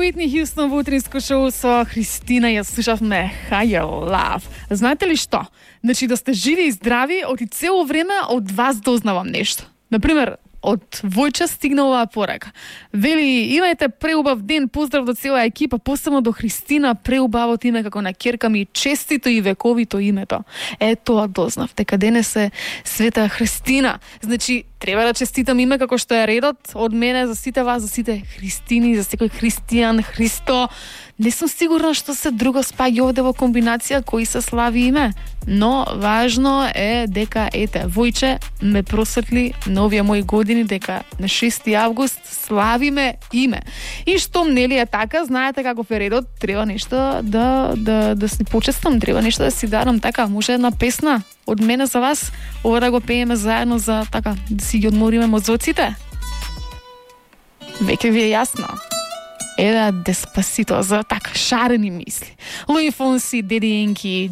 Whitney Houston во утринско шоу со Христина ја слушавме Higher Love. Знаете ли што? Значи да сте живи и здрави, оти цело време од вас дознавам нешто. Например, од Војче стигна оваа порака. Вели, имајте преубав ден, поздрав до цела екипа, посебно до Христина, преубавото име како на ќерка ми, честито и вековито името. Тоа дознав, дека денес е Света Христина. Значи, треба да честитам име како што е редот од мене за сите вас, за сите Христини, за секој Христијан, Христо. Не сум сигурна што се друго спаѓа овде во комбинација кои се слави име, но важно е дека Војче ме просветли на овие мои години дека на 6 август славиме име. И штом нели е така, знаете каков е редот, треба нешто да си почестам, треба нешто да си дарам, така, може една песна од мене за вас, ова да го пееме заедно за така да си ги одмориме мозоците. Веќе ви е јасно. Деспасито за така шарени мисли. Луи Фонси, Деди Јанки,